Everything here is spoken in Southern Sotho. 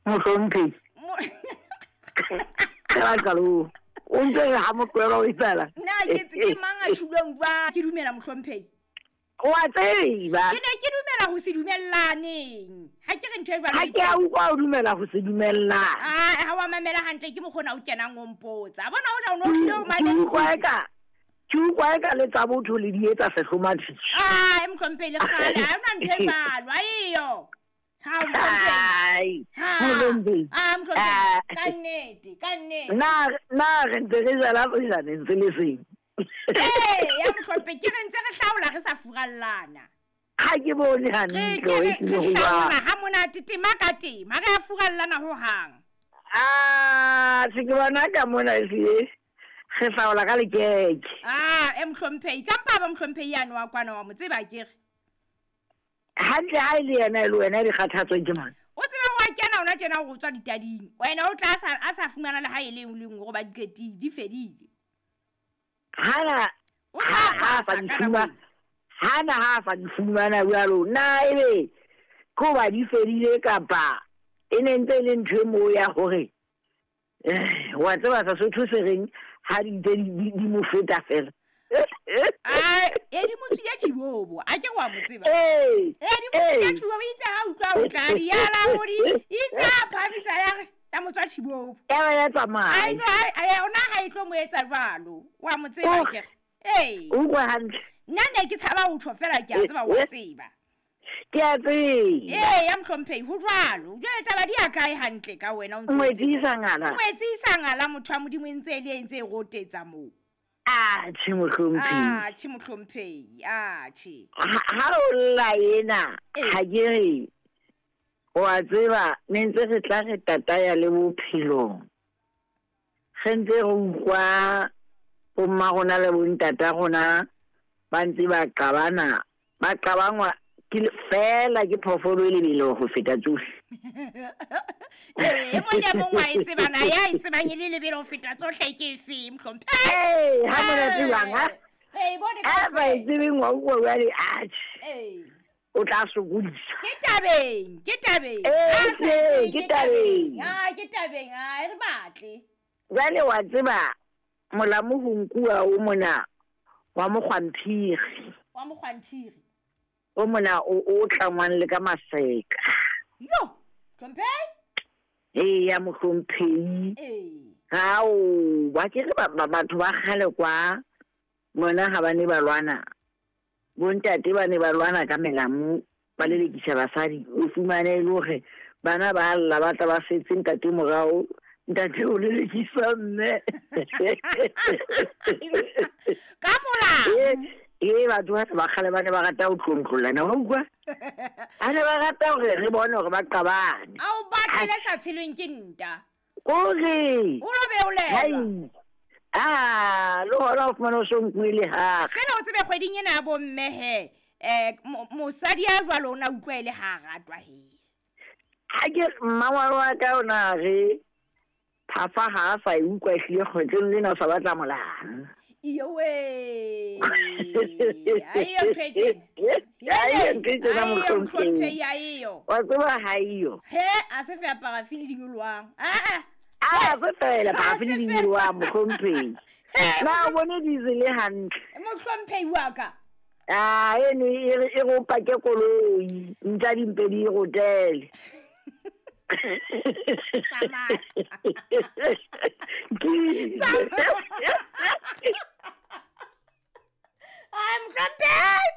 Mohlomphehi. Ka qalong. O ntse re ha motlohela o etsala. Na ke ke mang a tjhulwang jwang? Ke dumela mohlomphehi. O a tseba. Ke ne ke dumela ho se dumellaneng. Ha ke re ntho e jwalo. Ha ke a utlwa o dumela ho se dumellane. Ah, ha wa mamela hantle ke mokgona o kenang o mpotsa. Bona o ja o no tlile o mamedisitse. Ke utlwa eka ke utlwa eka le tsa botho le di etsa sehlomathiso. Ah, mohlomphehi le kgale ha ona ntho e jwalo. Aiyo. Hai, mohlomphehi. Ah, mohlomphehi. Ka nnete, ka nnete. Na na re ntse re jala sejaneng se le seng. Ee, ya mohlomphehi ke re ntse re hlaola re sa furallana. Ha ke bone hantle re hlaola ha monate tema ka tema re a furallana ho hang. Ah, se ke bona ka mona ehlile re hlaola ka lekeke. Ah, e mohlomphehi ka mpa ba mohlomphehi yane wa kwana wa mo tseba ke re. Hantle ha e le yena e le wena di kgathatsweng ke mang? O tsebe wa kena ona tjena o tswa ditading. Wena o tla a sa fumana le ha e le nngwe le nngwe goba di qetile, di fedile. Hana ha sa di fumana. Hana ha sa di fumana jwalo. Na ebe ko ba di fedile kapa e ne ntse e le ntho e moo ya hore wa tseba Sesotho se reng ha di ntse di mo feta fela. Ai, e di mo tswile tjhibobo, a ke wa mo tseba. E di mo tswile tjhibobo, itse ha utlwa o tla di yala hodi, itse a phamisa ya re ya mo tswa tjhibobo. Ya ba ya tsamaya. Ai no, ai ona ha e tlo mo etsa jwalo. Wa mo tseba ke re. Ee. O utlwa hantle. Nna ne ke tshaba ho tjho fela ke a tseba wa tseba. Ke a tseba. Ee, ya mohlomphehi ho jwalo. Jwale taba di ya kae hantle ka wena o ntse. Ngwetsisa ngala. Ngwetsisa ngala motho wa Modimo e ntse e le e ntse e rotetsa moo. Ah, che mohlomphehi. Ah, che mohlomphehi. Ah, che. Ha o lla ena, ha ke re wa tseba ne ntse re tla re tataya le bophelong. Re ntse re utlwa bomma rona le bontata rona ba ntse ba qabana, ba qabangwa ke fela ke phoofolo e lebelo ho feta tsohle. Ee, mong le mong wa e tsebana, ya e tsebang e le lebelo ho feta tsohle ke efe, mohlomphehi? Ee, ha mona tsebang, ha? Ee, bone Ha ba e tsebeng wa utlwa jwale, atjhe. Ee. O tla sokodisa. Ke tabeng, ke tabeng. Ee, ke tabeng. Ah, ke tabeng, ah, re batle. Jwale wa tseba molamu ho nkuwa o mona wa mokgwanthiri. Wa mokgwanthiri. O mona o tlangwang le ka maseka. Yo, hlomphehi? Ee, ya mohlomphehi. Ee. Hao, ba ke re batho ba kgale kwa mona ha ba ne ba lwana. Bontate ba ne ba lwana ka melamu ba lelekisa basadi, o fumane e le hore bana ba lla ba tla ba setse ntate morao, ntate o lelekisa mme. Ka molao. Ee, batho ba kgale ba ne ba rata ho tlontlollana, wa utlwa? Ba ne ba rata hore re bone hore ba qabane. A o batlele sa tshelweng ke nta. Kore. O lo beolelwa. Ah, le hona o fumane o so nkuwe le hare. Fela o tsebe kgweding ena ya bomme he, mosadi ya jwalo o na utlwa e le ha ratwa he. Ha ke mmangwane wa ka o na re phafa ha a sa e utlwa ehlile kgwetlong lena o sa batla molala. Iyowe. Aiyo ntho e tjena. Aiyo ntho e tjena mohlomphehi. Aiyo. Wa tseba ha iyo. He, a se fe parafini di nyolwang. Ah ah. Ah, se fela parafini di nyolwang mohlomphehi. Na o bone diesel e hantle. Mohlomphehi wa ka. Ah, eno e re o pake koloi, ntja dimpe di e rotele. Tsamaya. Ai, mohlomphehi.